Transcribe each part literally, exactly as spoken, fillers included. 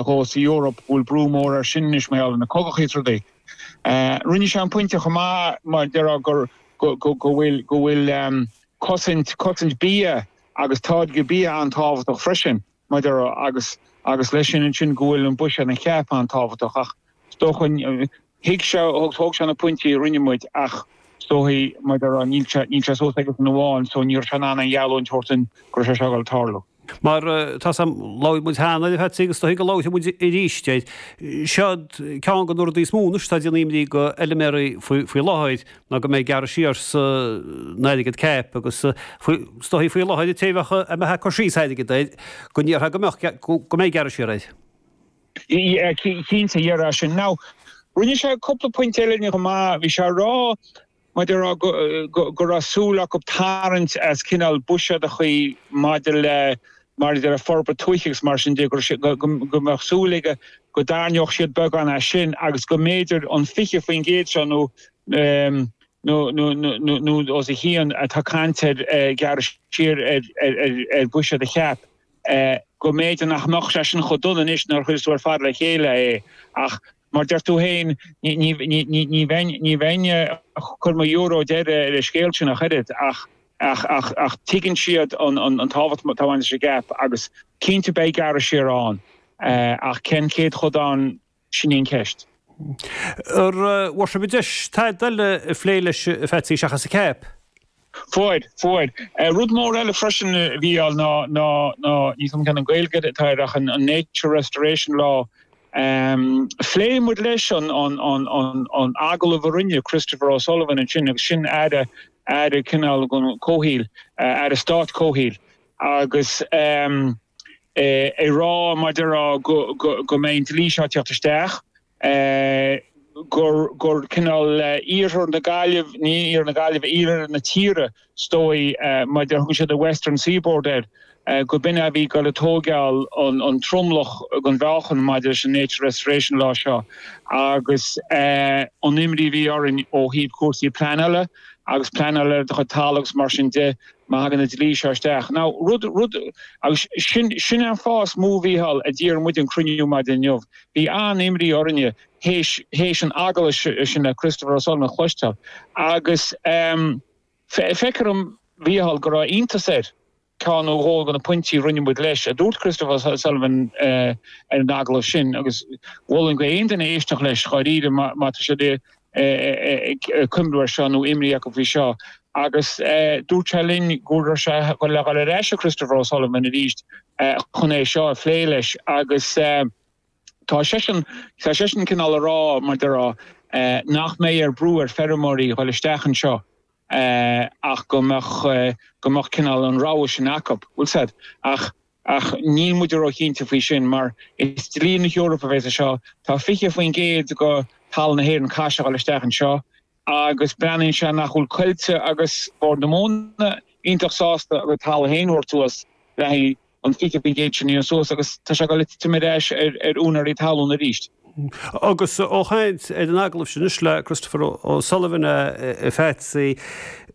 dhó sa Eoraip go bhfuil brú mór air sin anois mar gheall ar na cogachaí is rudaí. Rinne sé an pointe chomh maith mar déarfá gur go go bhfuil go bhfuil cosaint cosaint bia agus táirgeadh bia an-tábhachtach freisin mar déarfá agus agus leis sin ansin go bhfuil an buiséad an CAP an-tábhachtach ach is dócha thuig sé thóg sé na pointí a rinne muid ach is dóigh mar déarfá níl sé níl sé suas aige san amháin so ní raibh sé in ann an gheallúint a thabhairt go raibh sé seo ag dul tarlú. Mar tá sam labhair muid cheana a Phatsy agus is dóigh go labharfaidh muid arís air. Seo ceann de na rudaí is mó anois atá ag déanamh imní go fheilméaraí faoi láthair ná go mbeidh gearradh siar san airgead CAP agus is dóigh faoi láthair an té a bheadh a mbeadh ag cur síos airgead air go ndéarfá go mbeadh go mbeidh gearradh siar air. Cinnte, dhéarfá sin. Now, rinne sé cúpla pointe eile chomh maith, bhí sé ag rá maidir le go raibh súil acu tarraingt as cineál buiséadachaí maidir le maidir le forbairt tuaithe agus mar sin de go mbeadh súil aige go dtarraingeodh siad beagán as sin agus go mb'fhéidir an fiche faoin gcéad seo nó nó nó nó nó os a chionn atá caint ar gearradh siar ar ar bhuiséad an CAP go mb'fhéidir nach mbeadh sé sin chomh dona anois nuair a chuireas tú ar fad le chéile é ach Mar deir tú féin, ní bheinn ag cur mo euro deiridh ar an scéal sin ach oiread, ach ach tuigeann siad an tábhacht atá ag baint leis an gCAP agus cinnte beidh gearradh siar ann, ach cén céatadán, sin í an cheist. Ar bhfuair sibh deis tada eile a phlé leis, a Phatsy, seachas an CAP? Fuair, fuair. Rud mór eile freisin a Mhícheáil ná, ná, ná, níl 's agam cén an Ghaeilge atá air ach an Nature Restoration Law. Phléigh muid leis an, an, an, an, an agallamh a rinne Christopher O'Sullivan ansin agus sin Aire, Aire cineál an Comhshaoil, Aire Stáit Comhshaoil agus ag rá mar déarfá go, go, go mbeidh an dlí seo ag teacht isteach. gur gur cineál iarthar na Gaillimh, ní iarthar na Gaillimhe, iarthar na tíre is dóigh, mar a thugann siad the Western Seaboard air, go b'in a bhí ag dul ag tóigeáil an tromlach den mheáchan maidir leis an Nature Restoration Law seo agus an imní a bhí orainn ó thaobh cúrsaí pleanála agus pleanála ar do chuid talamh agus mar sin de má thagann an dlí seo isteach. Now rud, rud, agus sin, sin an fáth is mó a Mhícheáil a d'iarr muid an cruinniú maidin inniu. Bhí an-imní orainne théis, théis an agallaimh sin le Christopher O'Sullivan a chloisteáil agus feictear dom, a Mhícheáil, go raibh iontas air ceann nó dhó de na pointí a rinne muid leis, a dúirt Christopher O'Sullivan ar an agallamh sin agus mholfainn go aon duine éisteacht leis dháiríre má tá siad ag cuimhniú ar seo nó imní acu faoi seo. Agus dúirt sé linn go raibh sé ag dul ar ais ag Christopher O'Sullivan arís chun é seo a phlé leis agus tá seisean, tá seisean cineál a rá, mar déarfá, nach mbeidh ar brú ar feirmeoirí dhul isteach anseo ach go mbeadh, go mbeadh cineál an rogha sin acu, bhfuil 's a'd. Ach, ach níl muid róchinnte faoi sin mar is dlí na hEorpa a bheas anseo. Tá fiche faoin gcéad de thalamh na hÉireann caithfidh sé dhul isteach anseo agus breathnaíonn sé nach bhfuil Coillte agus Bord na Móna iontach sásta a gcuid talamh féin a thabhairt suas le haghaidh an fiche faoin gcéad sin a dhéanamh suas agus tá sé ag dul ag titim ar ais ar úinéirí talún arís. Agus ó chaint ar an agallamh sin anois le Christopher O'Sullivan, a Phatsy,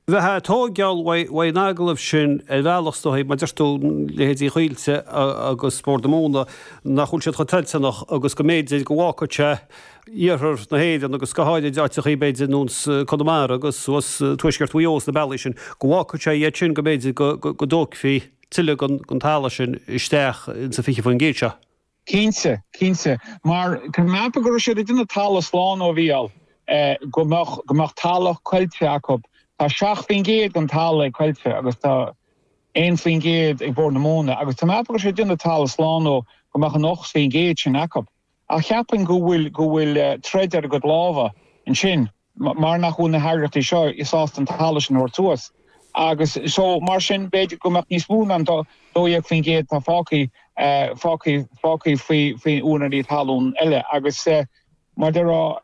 bheifeá ag tóigeáil uaidh an agallamh sin ar bhealach is dóigh, mar deir tú, leithéidí Choillte agus Bord na Móna, nach bhfuil siad chomh toilteanach agus go mb'fhéidir go bhfágfadh sé iarthar na hÉireann agus go háirid áiteachaí b'fhéidir ar nós Conamara agus suas tuaisceart Mhaigh Eo sna bealaí sin, go bhfágfadh sé iad sin go mb'fhéidir go dtógfaí tuilleadh den talamh sin isteach insa fiche faoin gcéad seo. Cinnte, cinnte. Mar tá mé ag ceapadh go raibh siad ag déanamh talamh slán a Mhícheáil, go mbeadh, go mbeadh talamh Coillte acu. Tá seacht faoin gcéad den talamh ag Coillte agus tá aon faoin gcéad ag Bord na Móna agus tá mé ag ceapadh go raibh siad ag déanamh talamh slán ó go mbeadh an ocht faoin gcéad sin acu. Ach cheapfainn go bhfuil, go bhfuil troid ar a gcuid lámha ansin. mar nach bhfuil na heagraíochtaí seo sásta an talamh sin a thabhairt suas. Agus so, mar sin, b'fhéidir go mbeadh níos mó ná an dó dhéag faoin gcéad atá fágtha, fágtha, fágtha faoi, faoi úinéirí talún eile. Agus mar déarfá,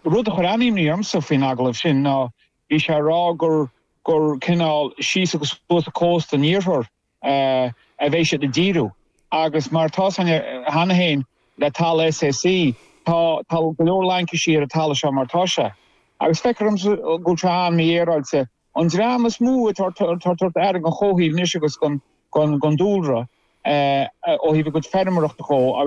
rud a chuir an-imní ormsa faoin agallamh sin ná bhí sé ag rá gur, gur cineál síos agus suas an cósta an iarthair, a bheidh siad ag díriú agus mar atá 's againne cheana féin le talamh S A C tá tá go leor laincisí ar an talamh seo mar atá sé. Agus feictear domsa go bhfuil sé an-mhífhéaráilte. An dream is mó atá ag tabhairt aire don chomhshaol anois agus don dúlra ó thaobh a gcuid feirmeoireachta dhó agus